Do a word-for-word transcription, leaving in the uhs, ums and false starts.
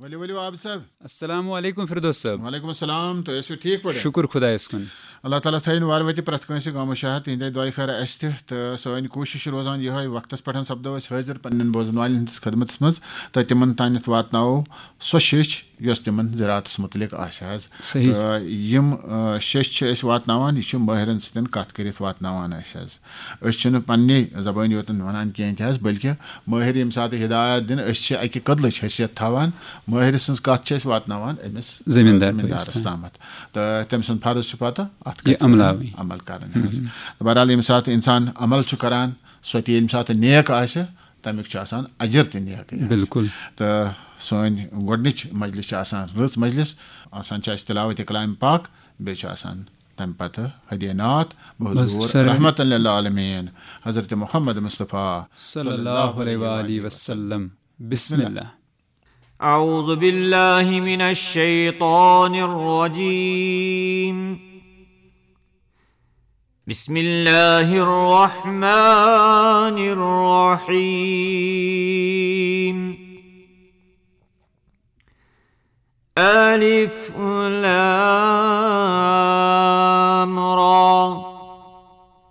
ؤلِو ؤلِو عابد صٲب۔ السلام علیکم فردوس صٲب۔ وعلیکم السلام، تُہۍ ٲسِو ٹھیٖک پٲٹھۍ؟ شُکُر خۄدایَس کُن۔ اللہ تعالیٰ تھٲیِن وارٕ وَتہِ پرٛٮ۪تھ کٲنٛسہِ غم و شہد تِہِنٛدے دۄیہِ خٲرٕ اَسہِ تہِ، تہٕ سٲنۍ کوٗشِش چھِ روزان یِہوٚے، وقتَس پٮ۪ٹھ سَپدو أسۍ حٲضِر پنٛنٮ۪ن بوزَن والٮ۪ن ہٕنٛدِس خدمتَس منٛز تہٕ تِمَن تانٮ۪تھ واتناوو سۄ شیٚچھ یۄس تِمَن زِراعتَس مُتعلِق آسہِ حظ۔ صحیح۔ تہٕ یِم آ، شیٚچھ چھِ أسۍ واتناوان، یہِ چھُ مٲہِرَن سۭتۍ کَتھ کٔرِتھ واتناوان أسۍ حظ۔ أسۍ چھِنہٕ پنٛنی زبٲنۍ یوت وَنان کینٛہہ تہِ حظ، بلکہِ مٲہِر ییٚمہِ ساتہٕ ہدایت دِن، أسۍ چھِ اَکہِ کٔدلٕچ حیثیت تھاوان۔ مٲہِر سٕنٛز کَتھ چھِ أسۍ واتناوان أمِس زٔمیٖندار زٔمیٖندارَس بٲیِس تام۔ تامَتھ۔ تہٕ تٔمۍ سُنٛد فرض چھُ پَتہٕ اَتھ یہِ کَتھِ عملاوٕنۍ۔ عمل کَرٕنۍ حظ۔ تہٕ بہرحال، ییٚمہِ ساتہٕ اِنسان عمل چھُ کَران، سۄ تہِ ییٚمہِ ساتہٕ نیک آسہِ، تَمیُک چھُ آسان اجر تہِ نیکٕے حظ۔ بِلکُل۔ تہٕ سٲنۍ گۄڈٕنِچ مجلس چھِ آسان رٕژ مجلس، آسان چھِ اَسہِ تلاوت کلام پاک، بیٚیہِ چھُ آسان تَمہِ پَتہٕ ہدیہ نعت بحضور بس سر۔ رحمت للعالمین حضرت محمد مصطفیٰ صلی اللہ علیہ وآلہ وسلم۔ بسم اللہ۔ أعوذ بالله من الشيطان الرجيم. بسم الله الرحمن الرحيم. ألف لام